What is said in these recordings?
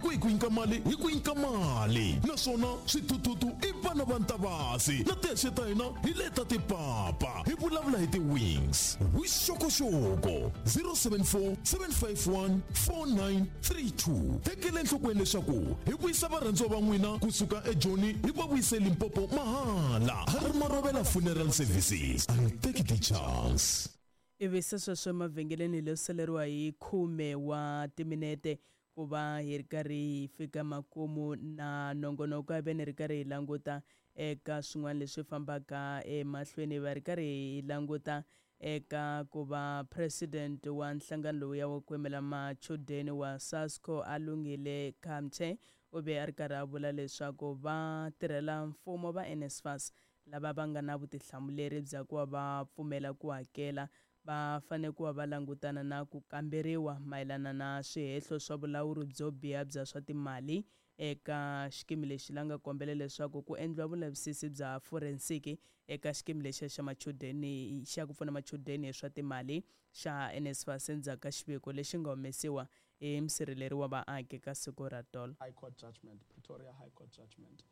Loko hi ku nyika mali hi ku nyika mali naswona swithuthuthu i vana va ntavasi na tihexe ta hina hi leta tipapa hi vulavula hi ti-wings vuxokoxoko 074 751 4932 tekela enhlokweni leswaku hi vuyisa varhandziwa va n'wina kusuka ejoni hi va vuyise limpopo mahala ha ri marovela funeral services a hi teki ti-chance. Ivi se sweswo emavhengeleni hi lo saleriwa hi khume wa timinete ku va hi ri karhi hi fika makumu na nongonoko. A ve ni ri karhi hi languta eka swin'wana leswi fambaka emahlweni, va ri karhi hi languta eka ku va president wa nhlangano lowuya wa ku yimela machudeni wa SASCO a lunghile Kamche u ve a ri karhi a vula leswaku va tirhela mfumo va NSFAS lava va nga na vutihlamuleri bya ku va va pfumela ku hakela va fanele ku va va langutana na ku kamberiwa mayelana na swihehlo swa vulawuri byo biha bya swa timali eka xikimi lexi la nga kombela leswaku ku endliwa vulavisisi bya forensiki eka xikimi lexiya xa machudeni xa ku pfuna machudeni hi swa timali xa NSFAS endzhaku ka xiviko lexi nga humesiwa hi musirheleri wa vaaki ka siku ra tolo. High Court judgment, Pretoria High Court judgment,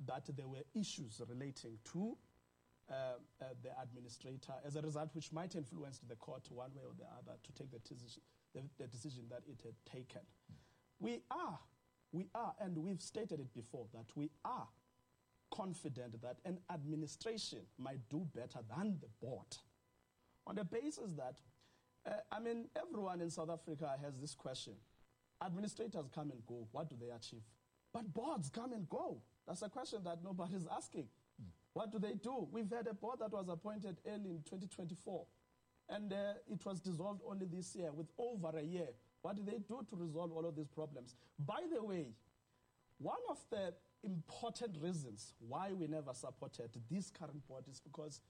that there were issues relating to the administrator, as a result, which might influence the court one way or the other to take the decision that it had taken. We are, and we've stated it before, that we are confident that an administration might do better than the board. On the basis that, everyone in South Africa has this question. Administrators come and go, what do they achieve? But boards come and go. That's a question that nobody's asking. What do they do? We've had a board that was appointed early in 2024, and it was dissolved only this year, with over a year. What do they do to resolve all of these problems? By the way, one of the important reasons why we never supported this current board is because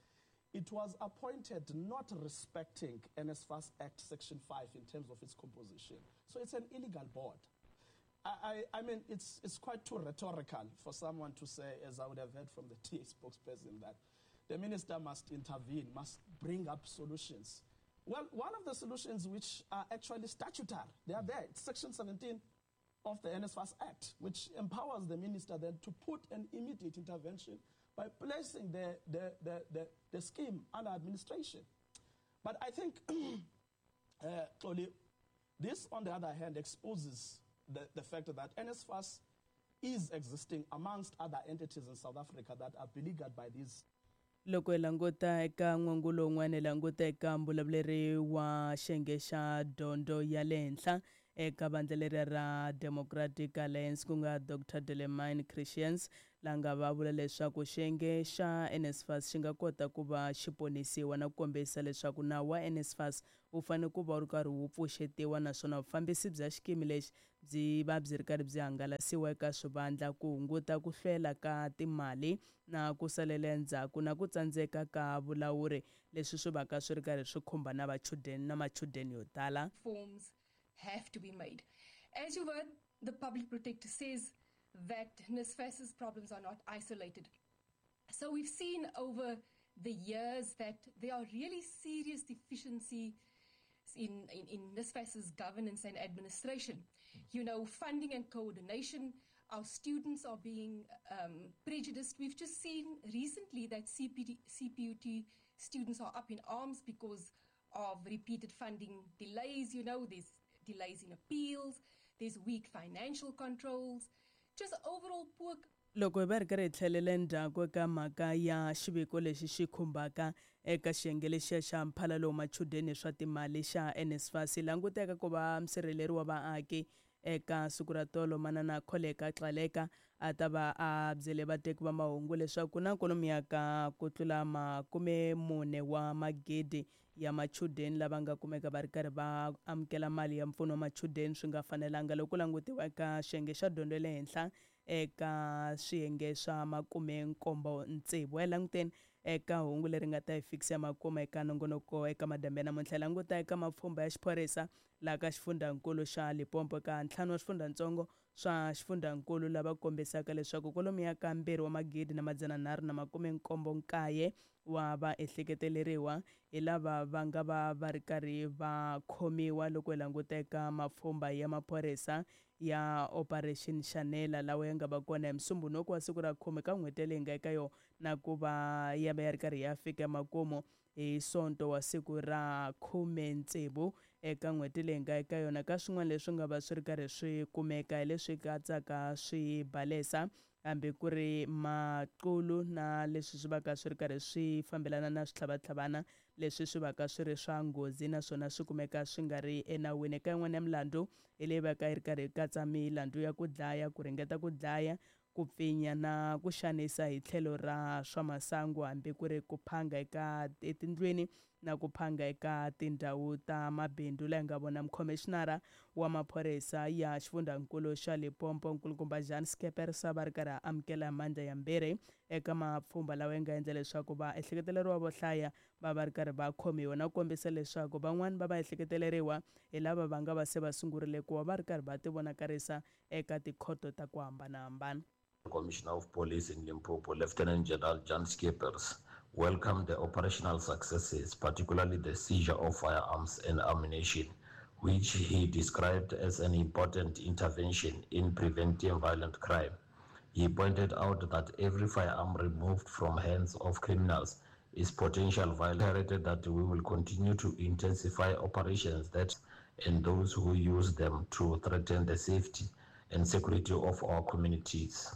it was appointed not respecting NSFAS Act Section 5 in terms of its composition. So it's an illegal board. I mean, it's quite too rhetorical for someone to say, as I would have heard from the TA spokesperson, that the minister must intervene, must bring up solutions. Well, one of the solutions which are actually statutory, they are there. It's Section 17 of the NSFAS Act, which empowers the minister then to put an immediate intervention by placing the scheme under administration. But I think, Xoli, this, on the other hand, exposes the fact that NSFAS is existing amongst other entities in South Africa that are beleaguered by these. Loko hi languta eka n'wangulo wun'wana hi languta eka mbulavuleri wa xiyenge xa dyondzo ya le henhla eka vandla leriya ra Democratic Alliance ku nga Dr Delemain Christians la nga va vula leswaku xiyenge xa NSFAS xi nga kota ku va xi ponisiwa na ku kombisa leswaku nawu wa NSFAS wu fanele ku va wu ri karhi wu pfuxetiwa naswona vufambisi bya xikimi lexi byi va byi ri karhi byi hangalasiwa eka swivandla ku hunguta ku hlwela ka timali na ku salela endzhaku na ku tsandzeka ka vulawuri leswi swi vaka swi ri karhi swi khumba na vachudeni na machudeni yo tala. Forms have to be made. As you heard, the public protector says that NSFAS's problems are not isolated. So we've seen over the years that there are really serious deficiencies in NSFAS's governance and administration. You know, funding and coordination, our students are being prejudiced. We've just seen recently that CPUT students are up in arms because of repeated funding delays. You know, there's delays in appeals, there's weak financial controls, just overall poor. Loko hi va ri karhi hi tlhelela endzhaku eka mhaka ya xiviko lexi xi khumbaka eka xiyenge lexiya xa mphalalo wa machudeni swa timali xa NSFAS languteka ku va musirheleri wa vaaki eka siku ra tolo manana Kholeka Xaleka a ta va a byele vateki va mahungu leswaku ku na kwalomuya ka ku tlula 40 wa magidi ya machudeni lava nga kumeka va ri karhi va amukela mali ya mpfuno wa machudeni swi nga fanelanga loko ku langutiwa eka xiyenge xa dyondzo ya le henhla eka swiyenge swa 76. Hi languteni eka hungu leri nga ta hi fikisa makuma eka nongonoko eka madambe ya namuntlha. Languta eka mapfhumba ya xiphorisa Laha ka xifundzankulu xa Limpopo ka ntlhanu wa swifundzantsongo swa xifundzankulu lava kombisaka leswaku kwalomuya ka 2 379 wa vaehleketeleriwa hi lava va nga va va ri karhi va khomiwa loko hi languta eka mapfhumba ya maphorisa ya Operation Shanela lawa ya nga va kona hi Musumbhunuku wa siku ra 10 ka n'hweti leyi nga eka yona, na ku va ya va ya ri karhi ya fika makumu hi Sonto wa siku ra 16 eka n'hweti leyi nga eka yona. Ka swin'wana leswi nga va swi ri karhi swi kumeka hi leswi katsaka swibalesa, hambi ku ri maqulu, na leswi swi vaka swi ri karhi swi fambelana na switlhavatlhavana leswi swi vaka swi ri swa nghozi, naswona swi kumeka swi nga ri enawini. Eka yin'wana ya milandzu hi leyi vaka yi ri karhi yi katsa milandzu ya ku dlaya, ku ringeta ku dlaya, ku pfinya na ku xanisa hi tlhelo ra swa masangu, hambi ku ri ku phanga eka etindlwini na ku phanga eka tindhawu ta mabindzu. Laha hi nga vona mukhomixinara wa maphorisa ya xifundzankulu xa Limpopo, nkulukumba Jan Scheepers, va ri karhi a amukela mandla yambirhi eka mapfhumba lawa ya nga endla leswaku vaehleketeleriwa vo hlaya va va ri karhi va khomiwa, na ku kombisa leswaku van'wani va vaehleketeleriwa hi lava va nga va se va sungurile ku va va ri karhi va tivonakarisa eka tikhoto ta ku hambanahambana. Commissioner of Police in Limpopo, Lieutenant General Jan Scheepers, welcomed the operational successes, particularly the seizure of firearms and ammunition, which he described as an important intervention in preventing violent crime. He pointed out that every firearm removed from hands of criminals is potential violence. That we will continue to intensify operations that and those who use them to threaten the safety and security of our communities.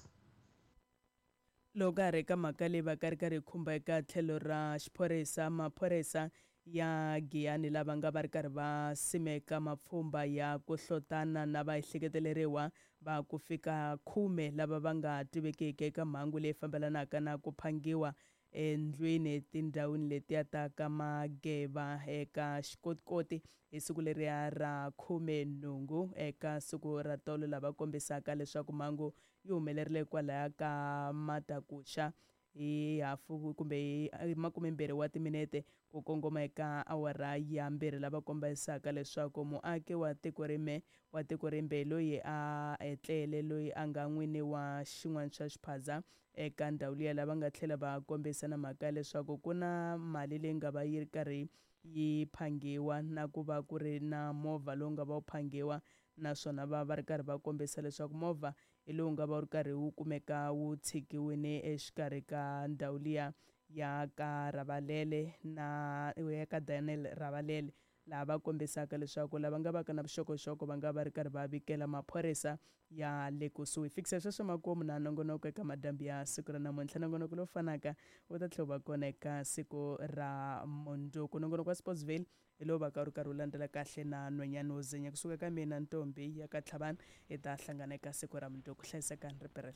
Loko ka ha ri ka mhaka leyi va ka ri karhi yi khumba eka tlhelo ra xiphorisa, maphorisa ya Giyani lava nga va ri karhi va simeka mapfhumba ya ku hlotana na vaehleketeleriwa va ku fika 10 lava va nga tivekiki eka mhangu leyi fambelanaka na ku phangiwa endlwini etindhawini letiya ta ka Mageva eka Xikotikoti hi siku leriya ra 18 eka siku ra tolo, lava kombisaka leswaku mhangu yi humelerile kwalaya ka Matakuxa hi hafu kumbe hi 20 wa timinete ku kongoma eka awara ya 2, lava kombisaka leswaku muaki wa tiko rime wa tiko rimbe loyi a etlele, loyi a nga n'wini wa xin'wana xa xiphaza eka ndhawu liya, lava nga tlhela va kombisa na mhaka ya leswaku ku na mali leyi nga va yi ri karhi yi phangiwa, na ku va ku ri na movha lowu nga va wu phangiwa, naswona va va ri karhi va kombisa leswaku movha hi lowu nga va wu ri karhi wu kumeka wu tshikiwile exikarhi ka ndhawu liya ya ka Ravalele na ya ka Daniel Ravalele, laha va kombisaka leswaku lava nga va ka na vuxokoxoko va nga va ri karhi va vikela maphorisa ya le kusuhi. Fikisa sweswo makumu na nongonoko eka madyambu ya siku ra namuntlha. Nongonoko lowu fanaka wu ta tlhela wu va kona eka siku ra mundzuku. Nongonoko wa Sportsville hi lowu va ka wu ri karhi wu landzela kahle na nhwanyana wo zinya. Kusuka ka mina, ntombi ya ka Tlhavani, hi ta hlangana eka siku ra mundzuku. Hlayisekani, riperela.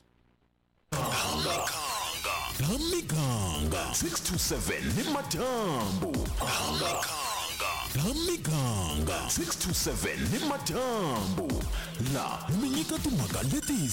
La miganga 6 to 7 ni madyambu. La miganga 6 to 7 ni madyambu, la mi nyika timhaka leti.